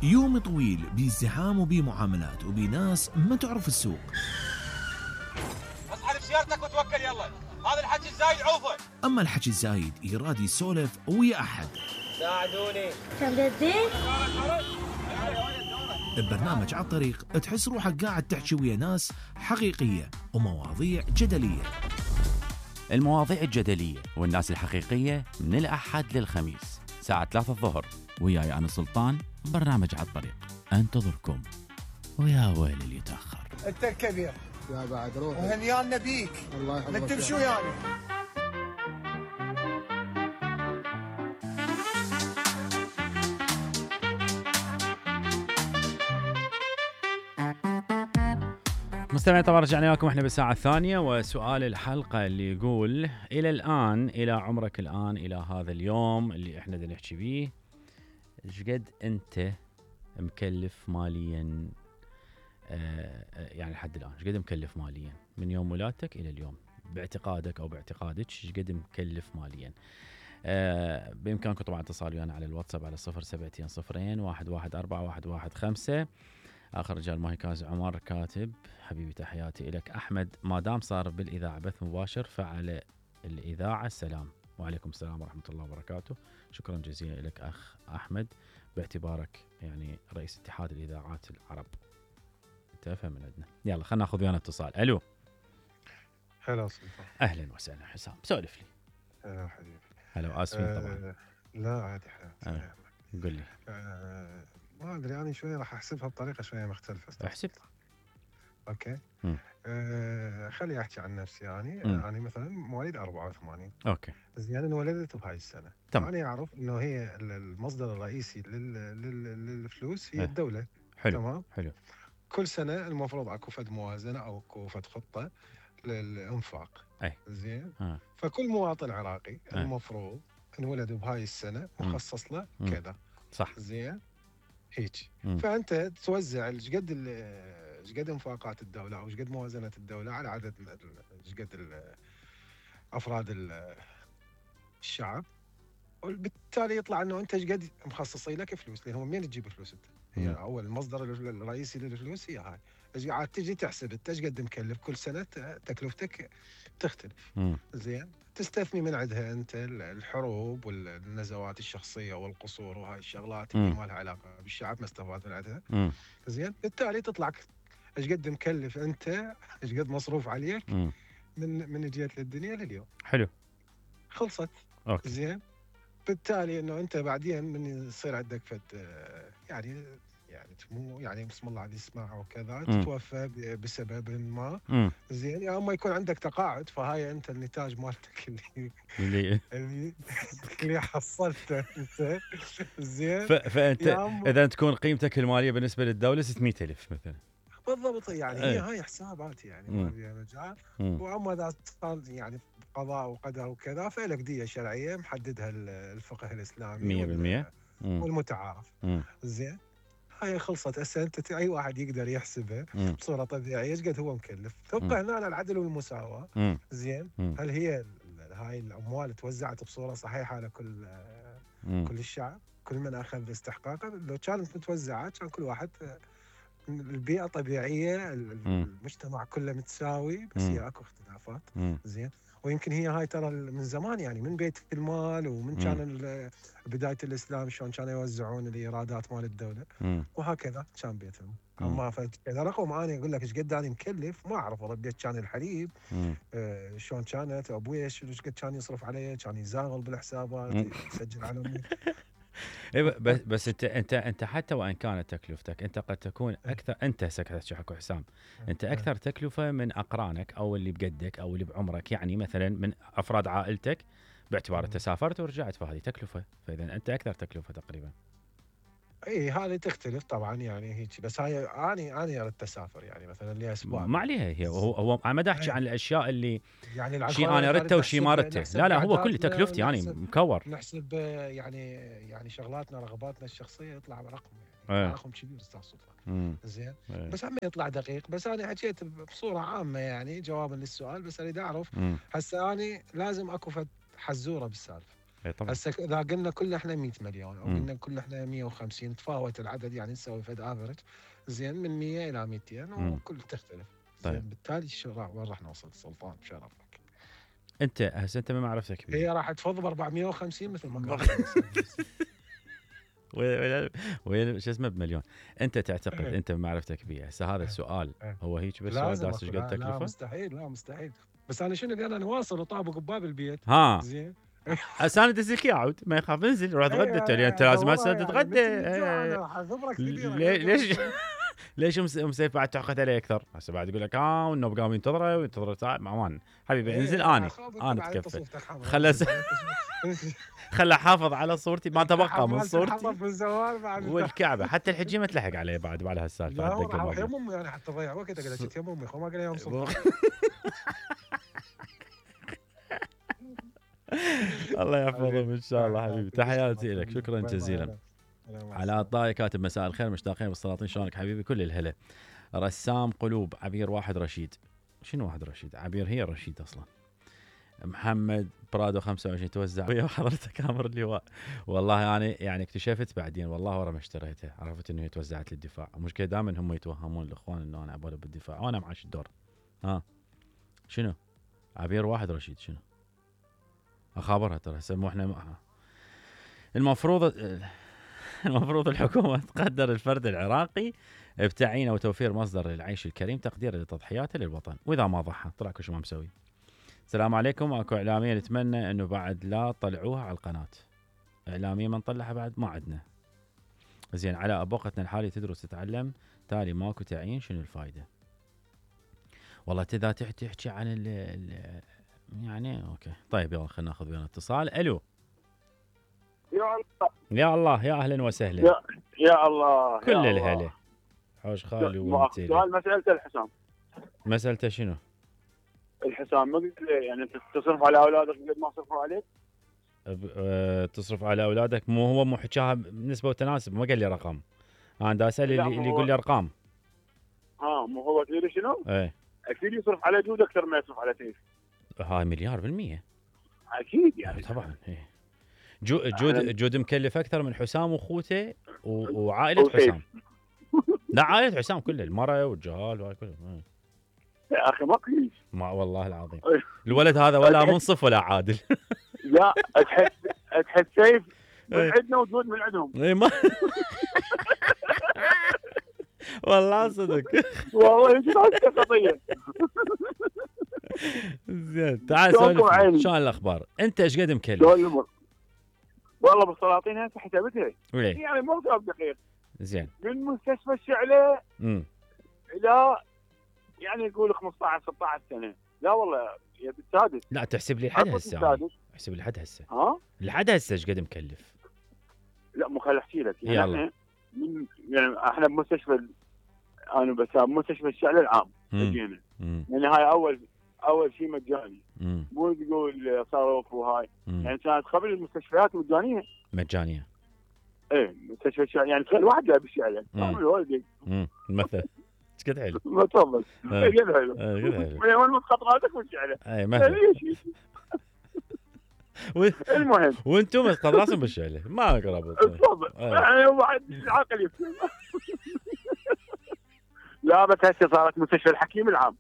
يوم طويل بازدحام وبمعاملات وبناس ما تعرف السوق. اصحى بسيارتك وتوكل يلا، هذا الحكي الزايد عوفه. اما الحكي الزايد يراد يسولف ويا احد. ساعدوني. تبدين؟ ببرنامج على الطريق تحس روحك قاعد تحكي ويا ناس حقيقية ومواضيع جدلية. المواضيع الجدلية والناس الحقيقية من الأحد للخميس ساعة 3 الظهر وياي أنا سلطان. برنامج على الطريق أنتظركم، ويا ويل اللي يتأخر. انت الكبير يا بعد روح وهنيانا بيك. الله يحفظك. نكتب شو يعني؟ مستمعين طبعا رجعنا لكم احنا بالساعة الثانية، وسؤال الحلقة اللي يقول إلى الآن، إلى عمرك الآن، إلى هذا اليوم اللي احنا دا نحكي بيه، ايش قد أنت مكلف ماليا؟ يعني لحد الآن ايش قد مكلف ماليا من يوم ولادتك إلى اليوم باعتقادك أو باعتقادك؟ ايش قد مكلف ماليا؟ بإمكانكم طبعا اتصال ويانا على الواتساب على 0720 114 115. آخر رجال ماهي كاز عمر كاتب: حبيبي تحياتي إلك أحمد، ما دام صار بالإذاعة بث مباشر فعلى الإذاعة السلام. وعليكم السلام ورحمة الله وبركاته. شكرا جزيلا لك أخ أحمد باعتبارك يعني رئيس اتحاد الإذاعات العرب. تفهم من عندنا. يلا خلنا ناخذ ويانا اتصال. ألو. هلا سلطان. أهلا وسهلا حسام، سولف لي. هلا حبيبي. هلا وآسفين طبعا. لا عادي حياتي. قل لي. ما ادري يعني شويه راح احسبها بطريقه شويه مختلفه. احسب. اوكي. خلي احكي عن نفسي يعني. يعني مثلا مواليد 84. اوكي. زين انا انولدت بهاي السنه. تمام. انا اعرف انه هي المصدر الرئيسي للفلوس هي الدوله. حلو. تمام. حلو. كل سنه المفروض اكو فد موازنه او اكو فد خطه للانفاق. اي. زين. فكل مواطن عراقي المفروض انولد بهاي السنه مخصص له كذا. صح. زين. هيك. فانت توزع ايش قد انفاقات الدوله او ايش قد موازنه الدوله على عدد ايش قد افراد الشعب، وبالتالي يطلع انه انت ايش قد مخصصين لك فلوس. لان هو منين تجيب فلوس انت؟ هي اول المصدر الرئيسي للفلوس هي هاي. ايش قاعد تجي تحسب انت ايش قد مكلف كل سنه، تكلفتك تختلف. زين. تستثني من عندها انت الحروب والنزوات الشخصيه والقصور وهاي الشغلات اللي ما لها علاقه بالشعب، ما استفاد من عندها. زين. بالتالي تطلع ايش قد مكلف انت، ايش قد مصروف عليك من جيت للدنيا لليوم. حلو. خلصت. أوكي. زين. بالتالي انه انت بعدين من يصير عندك فد يعني مو يعني بسم الله عليه يسمع وكذا تتوفى بسبب ما. زين. يا اما يكون عندك تقاعد، فهاي انت النتاج مالتك اللي حصلته انت. زين. فانت اذا تكون قيمتك الماليه بالنسبه للدوله 600,000 مثلا. بالضبط. يعني هي هاي حسابات يعني ما فيها مجال. واما اذا صار يعني قضاء وقدر وكذا فلك دية شرعيه محددها الفقه الاسلامي 100% والمتعارف. زين. هاي خلصت. هسه انت اي واحد يقدر يحسبها بصوره طبيعيه ايش قد هو مكلف. تبقى هنا العدل والمساواه. زين. هل هي هاي الاموال توزعت بصوره صحيحه على كل الشعب، كل من اخذ استحقاقه؟ لو كانت متوزعه كان كل واحد البيئه طبيعيه، المجتمع كله متساوي، بس هي اكو اختلافات. زين. ويمكن هي هاي ترى من زمان يعني من بيت المال ومن كان بدايه الاسلام شلون كانوا يوزعون الايرادات مال الدوله وهكذا كان بيتهم. اما فاذا رقم انا اقول لك ايش قد انا مكلف ما اعرف. والله بديت كان الحليب شلون كانت ابوي ايش قد كان يصرف علي، كان يزاغل بالحسابات يسجل على امي. بس انت حتى وان كانت تكلفتك انت قد تكون اكثر. انت سكت حكو حسام، انت اكثر تكلفه من اقرانك او اللي بقدك او اللي بعمرك، يعني مثلا من افراد عائلتك، باعتبار انت سافرت ورجعت فهذه تكلفه، فاذا انت اكثر تكلفه تقريبا. اي هذه تختلف طبعا يعني هيك. بس هاي اني اردت اسافر يعني مثلا لي اسبوع ما عليها. هي هو ما دا احكي عن الاشياء اللي يعني شيء انا ردته وشيء ما ردته. لا هو كل تكلفتي يعني مكور. نحسب يعني شغلاتنا رغباتنا الشخصيه يطلع رقم يعني رقم كبير استاذ سلطان. زين. بس هم يطلع دقيق. بس انا حكيت بصوره عامه يعني جوابا للسؤال. بس اريد اعرف هسه اني لازم اكو حزوره بالسالفه. طبعا. هسه اذا قلنا كلنا احنا 100 مليون او قلنا كلنا احنا 150 تفاوت العدد، يعني نسوي فد افرج زين من 100 الى 200 وكل تختلف. طيب. زين بالتالي وين راح نوصل سلطان بشرفك؟ انت هسه انت ما معرفتك بيه. هي راح تفض ب 450 مثل ما وين شو اسمه بمليون. انت تعتقد انت بمعرفتك بيه هسه هذا السؤال هو هيك بس سؤال داس ايش قد تكلفه؟ لا مستحيل. بس انا شنو انا نواصل وطابق بباب البيت. ها زين هسه انا دزلك اياه عود ما يخاف انزل روح اتغدى. انت لازم هسه تتغدى. ليش مسيف بعد تعقد عليه اكثر؟ هسه بعد يقول لك والنوب قام ينتظره ساعه معمان حبيبي انزل انا اتكفل. خلى حافظ على صورتي ما تبقى من صورتي والكعبه حتى الحجي ما تلحق عليه بعد هالسالفه. يا امي يعني حتى ضيع وقت اقول لك يا امي ما قال يوم صبح. الله يحفظهم ان شاء الله حبيبي. تحياتي لك شكرا جزيلا. علاء الطائي كاتب مساء الخير مشتاقين بالسلاطين شلونك حبيبي كل الهلا. رسام قلوب عبير واحد رشيد. شنو واحد رشيد؟ عبير هي رشيد اصلا. محمد برادو 25 توزع ويا حضرتك امر اللواء. والله انا يعني اكتشفت بعدين والله ورا ما اشتريتها عرفت انه هي توزعت للدفاع. المشكله دائما هم يتوهمون الاخوان انه انا عبالي بالدفاع وانا معاش الدور. شنو عبير واحد رشيد شنو اخابرها ترى هسه مو احنا المفروض الحكومه تقدر الفرد العراقي بتعيينه وتوفير مصدر للعيش الكريم تقديرا لتضحياته للوطن واذا ما ضحى طلع كل شيء ما مسوي. السلام عليكم. اكو اعلاميه نتمنى انه بعد لا طلعوها على القناه. اعلاميه ما نطلعها بعد ما عندنا. زين على ابوقتنا الحالي تدرس تتعلم تالي ماكو تعيين شنو الفائده؟ والله اذا تحكي عن يعني اوكي طيب يلا خلينا ناخذ ويانا اتصال. الو يا الله يا اهلا وسهلا. يا الله كل الهلا حوش خالي وانتي. سؤال مسألة الحسام. مسألته شنو؟ الحسام ما قلت يعني تصرف على اولادك قد ما صرفوا عليك؟ تصرف على اولادك مو حكاها بنسبه وتناسب ما قال لي رقم. انا دا اسال اللي يقول لي ارقام. مو هو تدري شنو؟ ايه اكيد يصرف على جود اكثر ما يصرف على سيف. هاي مليار بالمية اكيد يعني طبعا. إيه. جود مكلف اكثر من حسام واخوته وعائله حسام. لا عائله حسام كلها المراه والجهال وهاي كلهم. يا اخي ما قيس ما والله العظيم الولد هذا ولا منصف ولا عادل. لا تحس سيف من عندنا وجود من عندهم. اي ما والله صدق والله يجي قضيه. زين تعال سولف شلون الاخبار؟ انت ايش قد مكلف؟ والله بالسلاطين هسه حسبتها يعني مو دقيق. زين من مستشفى الشعله الى يعني يقول 15 16 سنه. لا والله يا بالسادس. لا تحسب لي لحد هسه. احسب لي لحد هسه. لحد هسه ايش قد مكلف؟ لا مو خل احكي لك يعني يعني احنا بمستشفى انا بس بمستشفى الشعله العام جينا يعني هاي اول شيء مجاني. مو تقول صرف وهاي يعني كانت قبل المستشفيات مجانيه. ايه مستشفى الشعله يعني تخيل واحد جاي بالشعله والدك مثلا ايش قد حلو. ما تفضل قد حلو وين ما تحط راسك بالشعله. اي مثلا المهم وانتم قد راسهم بالشعله ما قربوا. تفضل يعني واحد عاقل يفهم. لا بس هسه صارت مستشفى الحكيم العام.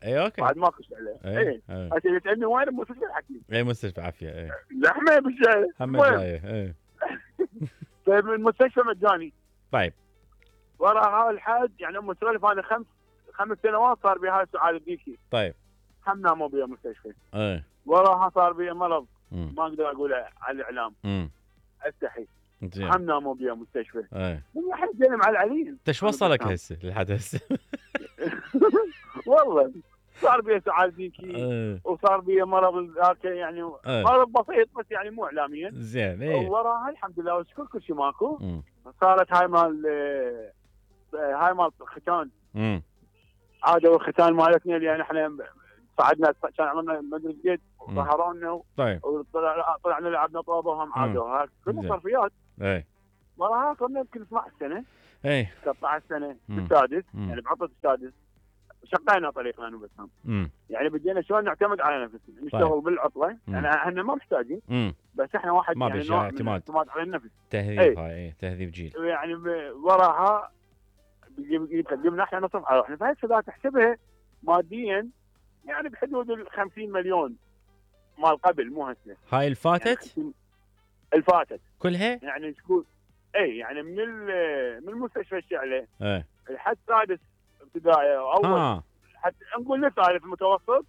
اي اوكي بعد ماكو شعله. اي هسه تسالني وين مستشفى الحكيم؟ اي مستشفى عافيه. اي زحمه بالشعله هم جايه. اي طيب المستشفى مجاني. طيب ورا هاي الحد يعني مسولف انا 5 سنوات صار بي هاي السعاده الديكي. طيب هم ناموا بيها مستشفى. اي وراها صار بيها مرض ما اقدر اقول على الاعلام. استحي. هم ناموا بيها مستشفى. اي احنا جينا مع العليل. انت ايش وصلك هسه لحد هسه؟ والله صار بيها سعاده ديكي وصار بيها مرض ذاك يعني مرض بسيط بس يعني مو اعلاميا. زين اي وراها الحمد لله والشكر كل شيء ماكو. صارت هاي مال ختان. عادوا الختان مالتنا اللي يعني احنا صعدنا كان عملنا مدري قد وظهرونا. طيب طلعنا لعبنا طوبه وهم عادوا كلها صرفيات. اي وراها صرنا يمكن 12 سنه. اي 13 سنه بالسادس يعني بعطت السادس شقينا طريقنا انا وبسام. يعني بدينا شلون نعتمد على نفسنا، نشتغل بالعطله، يعني احنا ما محتاجين، بس احنا واحد ما يعني نوع اعتماد على النفس. تهذيب هاي تهذيب جيل. يعني وراها يقدمنا احنا نصرف على روحنا، فهسه اذا تحسبها ماديا يعني بحدود ال 50 مليون مال قبل، مو هسه. هاي الفاتت؟ يعني الفاتت كلها؟ يعني تقول يعني من مستشفى الشعله لحد سادس ابتدائي او اول، حتى نقول للثالث المتوسط